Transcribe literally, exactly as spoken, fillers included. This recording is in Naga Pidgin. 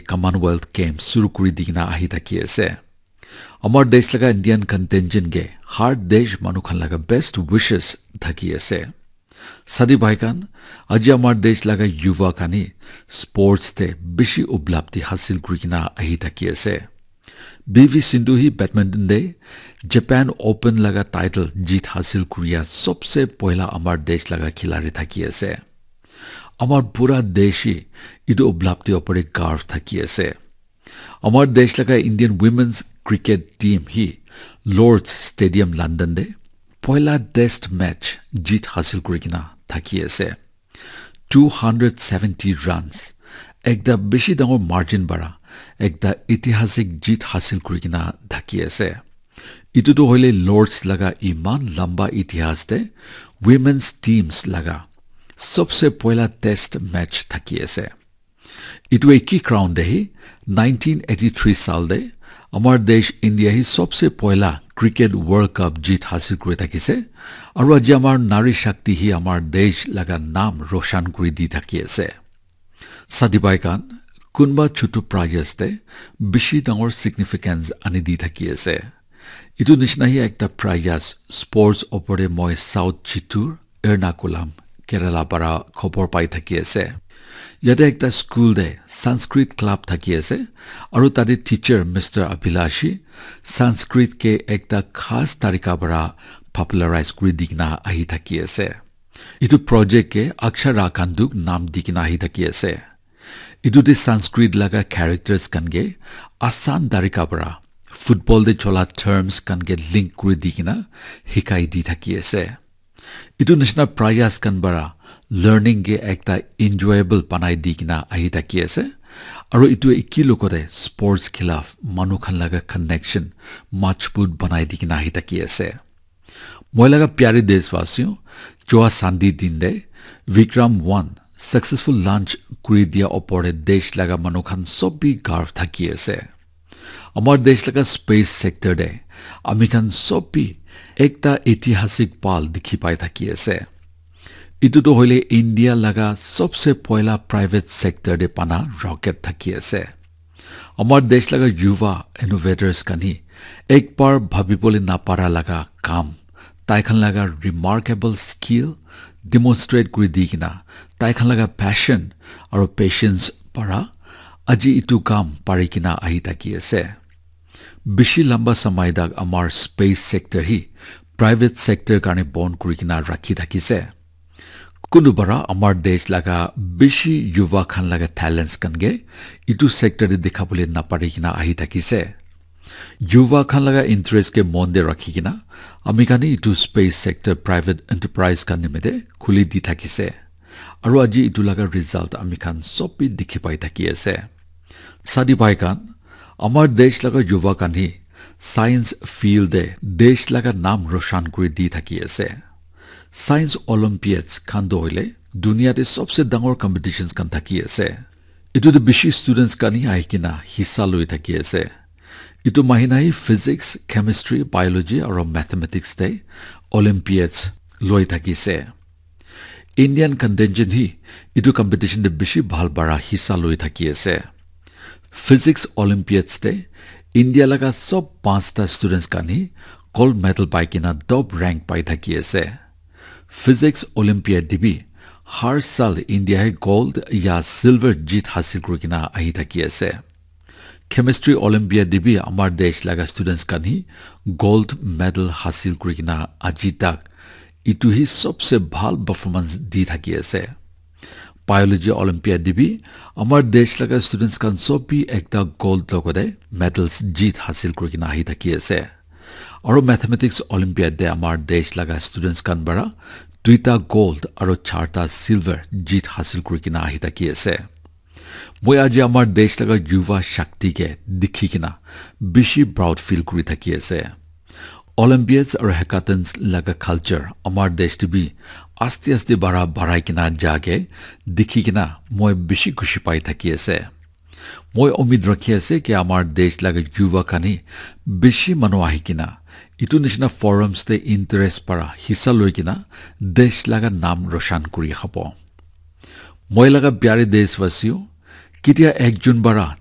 Commonwealth Games suru kuri di kena ahi thaki ase. Amar desh laga Indian contingent ke har desh manu khan laga best wishes thaki ase. Sadi bhai khan, aji amar desh laga yuva khan hi sports te bishi uplabdhi hasil kuri kena ahi thaki ase. B V Sindhu hi badminton te Japan Open laga title jeet hasil kuriya sobse poila amar desh laga khilari thaki ase. Amar pura desh hi etu uplabdhi opor te garv thaki ase. Amar desh laga Indian women's cricket team hi Lord's Stadium London te poila test match jeet hasil kuri kena thaki ase. Two hundred seventy runs, ekta bishi dangor margin para ekta itihasik jeet hasil kuri kena thaki ase. Etu tu hoile Lord's laga iman lamba itihas te women's teams laga sobse poila test match thaki ase. Etu eki ground te hi nineteen eighty-three sal te amar desh India hi sobse poila cricket World Cup jeet hasil kuri thakise. Aru aji amar Nari Shakti hi amar desh laga naam roshan kuri di thaki ase. Sadi bhai khan, kunba chutu prayas te bishi dangor significance ani di thaki ase. Etu nishina hi ekta prayas sports opor te moi South Chittoor, Ernakulam, Kerala para khobor pai thaki ase. Yate ekta school te Sanskrit club thaki ase, aru tate teacher Mister Abhilash hi Sanskrit ke ekta khas tarika para popularize kuri di kena ahi thaki ase. Etu project ke Akshara Khanduk naam di kena ahi thaki ase. Etu te Sanskrit laga characters khan ke asan tarika para football te chola terms khan ke link kuri di kena hikai di thaki ase. Etu nishina prayas khan para learning ke ekta enjoyable banai di kena ahi thaki ase. Aru etu eki logote sports khilaf manu khan laga connection majbut banai di kena ahi thaki ase. Moi laga pyare deshwasi, joa Sunday din te Vikram one successful launch kuri dia opor te desh laga manu khan sob bi garv thaki ase. Amar desh laga space sector te ami khan sob bi ekta itihasik pal dikhi pai thaki ase. Etu tu hoile India laga sobse poila private sector te bana rocket thaki ase. Amar desh laga yuva innovators khan hi ek bar bhabibole napara laga kam, tai khan laga remarkable skill demonstrate kuri di kena, tai khan laga passion aru patience para aji etu kam pari kena ahi thaki ase. Bishi lamba samay tak amar space sector hi private sector karne bon kuri kena rakhi thakise. Kunu bara amar desh laga bishi yuva khan laga talents khan ke etu sector te dikhabole napari kena ahi thakise. Yuva khan laga interest ke mon te rakhi kena ami khan etu space sector private enterprise khan nimite khuli di thakise. Aru aji etu laga result ami khan sob bi dikhi pai thaki ase. Sadi bhai khan, amar desh laga yuva khan hi science field te desh laga naam roshan kuri di thaki ase. Science Olympiads khan toh hoile dunia te sobse dangor competitions khan thaki ase. Etu te bishi students khan hi ahi kena hissa loi thaki ase. Etu mahina hi physics, chemistry, biology aru mathematics te Olympiads loi thaki ase. Indian contingent hi etu competition te bishi bhal bara hissa loi thaki ase. Physics Olympiads te India laga sob panchta students khan hi gold medal pai kena top rank pai thaki ase. Physics Olympiad te bi har sal India he gold ya silver jeet hasil kuri kena ahi thaki ase. Chemistry Olympiad te bi amar desh laga students khan hi gold medal hasil kuri kena aji tak etu hi sobse bhal performance di thaki ase. Biology Olympiad te bi amar desh laga students khan sob bi ekta gold logote medals jeet hasil kuri kena ahi thaki ase. Aru mathematics Olympiad te amar desh laga students khan para duita gold aru charta silver jeet hasil kuri kena ahi thaki ase. Moi aji amar desh laga yuva shakti ke dikhi kena bishi proud feel kuri thaki ase. Olympiads aru hackathons laga culture amar desh te bi aste aste bara barai kena ja ke dikhi kena moi bishi khushi pai thaki ase. Moi umid rakhi ase ki amar desh laga yuva khan hi bishi manu ahi kena etu nishina forums te interest para hissa loi kena desh laga naam roshan kuri khabo. Moi laga pyare deshwasiyo, ketia ekjon bara